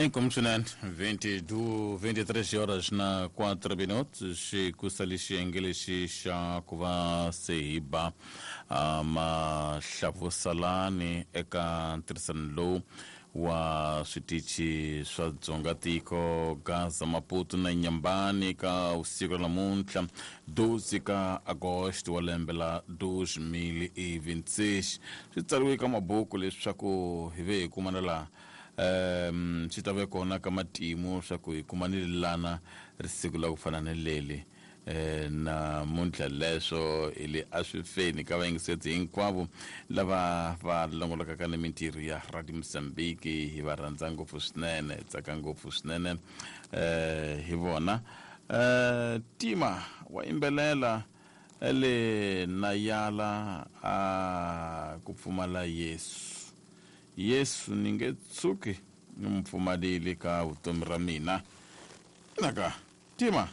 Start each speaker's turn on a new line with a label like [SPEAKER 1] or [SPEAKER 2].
[SPEAKER 1] Inkomu swinene 22 23 horas na 4 minutos xikusali xiyenge lexi xa ku va se hi ba mahlavusalani eka ntirhisano lowu wa switichi swa dzonga tiko Gaza, Maputo na Nyambani ka vusiku ra namuntlha 12 ka Agosto wa lembe la 2026. Swi tsariwe ka mabuku leswaku hi ve hi kumana laha swi ta ve kona ka matimu swa ku hi kumanile lana risiku la ku fana ni leli namuntlha. Leswo hi le a swi feni ka vayingiseti hinkwavo lava va longolokaka ni mintirho ya Radio Mozambique. Hi va rhandza ngopfu swinene, hi tsaka ngopfu swinene hi vona. Tima wa yimbelela ele nayala a ku pfumala Yesu. Yesu ni nge tshuki ni mu pfumalile ka vutomi ra mina. Naka tima.